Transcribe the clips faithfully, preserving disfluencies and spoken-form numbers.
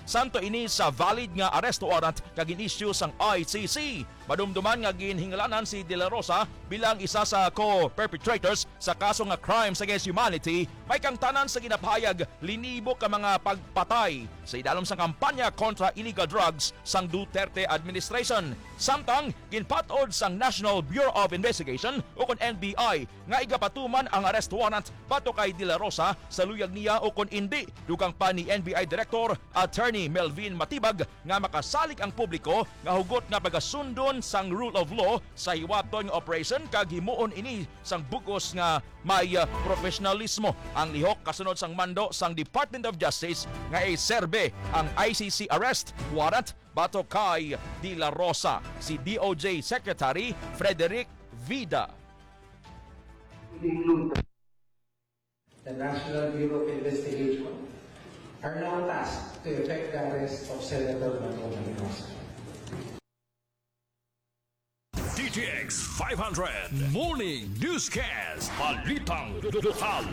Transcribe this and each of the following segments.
santo ini sa valid nga arrest warrant nga gin-issue sang I C C. Madumduman nga ginhingalanan si De La Rosa bilang isa sa co-perpetrators sa kaso nga crimes against humanity, may kangtanan sa ginapahayag linibo ka mga pagpatay sa idalom sang kampanya kontra illegal drugs sang Duterte administration. Samtang ginpat-od sang National Bureau of Investigation, ukon N B I, nga igapatuman ang arrest warrant batok kay De La Rosa sa luyag niya ukon indi, dugang pa ni N B I Director Attorney Melvin Matibag nga makasalig ang publiko nga hugot nga pagasundon sang rule of law sa hiwaton nga operation kag himuon ini sang bug-os nga may, ah, profesionalismo. Ang lihok kasunod sang mando sang Department of Justice nga iserbe ang I C C arrest warrant batok kay De La Rosa, si D O J Secretary Frederick Vida. The National Bureau of Investigation are now tasked to effect the arrest of Senator Bato Mendoza. D T X five hundred Morning Newscast. Balitang lokal.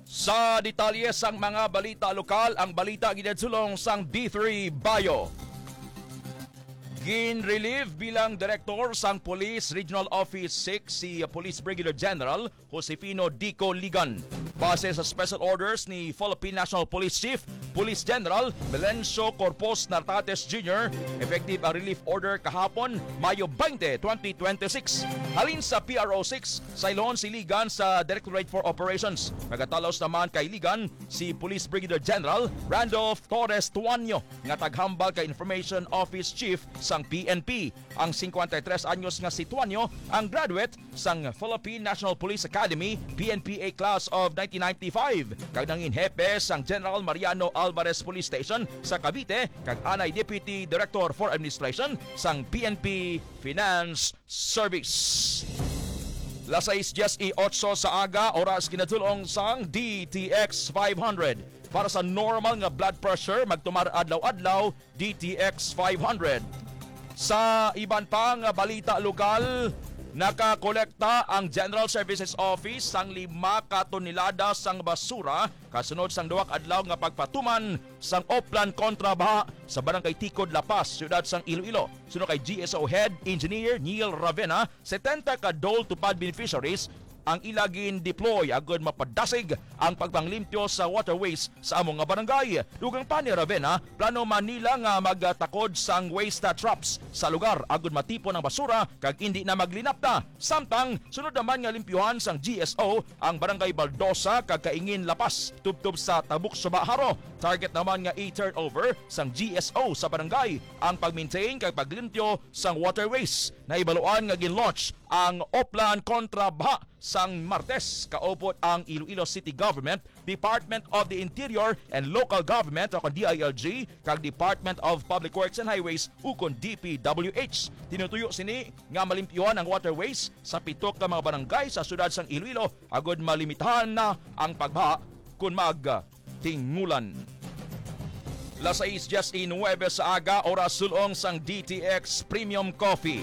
Sa detalye sang mga balita lokal, ang balita ginadsulong sang D three Bio. Gin-relieve bilang direktor sang Police Regional Office six si Police Brigadier General Josefino Dico Ligan. Base sa special orders ni Philippine National Police Chief Police General Melencio Corpus Nartates Junior, effective ang relief order kahapon, Mayo twenty, twenty twenty-six. Halin sa P R O six, sayloon si Ligan sa Directorate for Operations. Magatalos naman kay Ligan si Police Brigadier General Randolph Torres Tuanyo, nga taghambal kay Information Office Chief sang P N P. Ang singkwenta y tres anyos nga si Tuanyo ang graduate sang Philippine National Police Academy, P N P A Class of nineteen ninety-five, kag nangin hepe sang General Mariano Alvarez Police Station sa Cavite, kag anay Deputy Director for Administration sang P N P Finance Service. Las sais dies y ocho sa aga, oras kinatulong sang D T X five hundred. Para sa normal nga blood pressure, magtumar adlaw-adlaw, D T X five hundred. Sa iban pa nga balita lokal, nakakolekta ang General Services Office sang lima ka tonelada sang basura kasunod sang duha ka adlaw nga pagpatuman sang oplan kontra baha sa Barangay Tikod, La Paz, siyudad sang Iloilo. Suno kay G S O Head Engineer Neil Ravena, setenta ka Dole Tupad beneficiaries ang ila gin-deploy agud mapadasig ang pagpanglimpyo sa waterways sa amo nga barangay. Dugang pa ni Ravena, plano man nila nga magtakod sang waste traps sa lugar agud matipon ang basura kag indi na maglinapta. Samtang sunod naman nga limpyuhan sang G S O ang Barangay Baldosa kag Kaingin, La Paz, tubtob sa Tabuk Suba, Jaro. Target naman nga i-turnover sang G S O sa barangay ang pag-maintain kag paglimpyo sang waterways. Nahibaluan nga gin-launch ang Oplan Kontra Baha sang Martes, kaupod ang Iloilo City Government, Department of the Interior and Local Government, o kon D I L G, kag Department of Public Works and Highways, ukon D P W H. Tinutuyo sini nga malimpyuhan ang waterways sa pito ka mga barangay sa siyudad sang Iloilo, agud malimitahan na ang pagbaha kon magtingulan. Las sais dies y nuebe sa aga, oras sulong sang D T X Premium Coffee.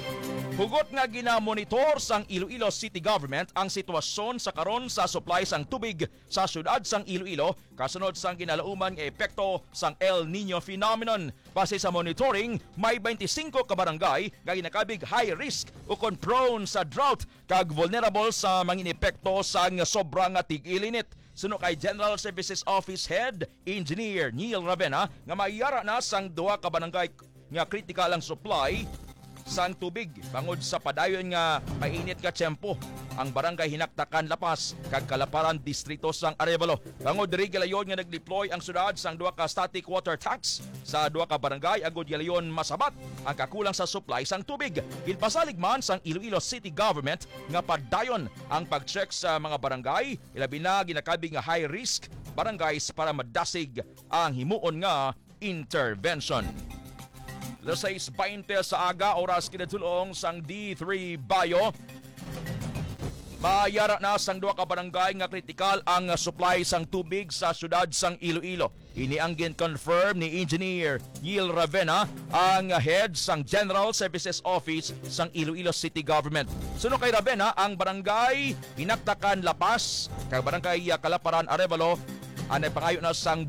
Hugot nga ginamonitor sang Iloilo City Government ang sitwasyon sa karon sa supply sang tubig sa siyudad sang Iloilo kasunod sang ginalauman nga epekto sang El Niño phenomenon. Base sa monitoring, may twenty-cinco ka barangay nga ginakabig high risk ukon prone sa drought kag vulnerable sa mangin epekto sang sobra nga tig-ilinit. Suno kay General Services Office Head Engineer Neil Ravena nga may ara na sang duha ka barangay nga kritikal ang supply sang tubig bangod sa padayon nga mainit nga tiyempo, ang Barangay Hinaktakan, La Paz, kag Kalaparan, Distrito sang Arevalo. Bangod diri, gilayon nga nag-deploy ang syudad sang duha ka static water tanks sa duha ka barangay agud gilayon masabat ang kakulang sa supply sang tubig. Ginpasalig man sang Iloilo City Government nga padayon ang pag-check sa mga barangay, ilabi na ginakabig nga high risk barangays, para madasig ang himuon nga intervention. Las sais baynte sa aga, oras kinatulong sang D three Bio. Mayara na sang duha ka barangay nga kritikal ang supply sang tubig sa syudad sang Iloilo. Ini ang gin-confirm ni Engineer Neil Ravena, ang head sang General Services Office sang Iloilo City Government. Suno kay Ravena, ang barangay Hinaktakan, La Paz, kag barangay Kalaparan, Arevalo, Anay pangayo na sang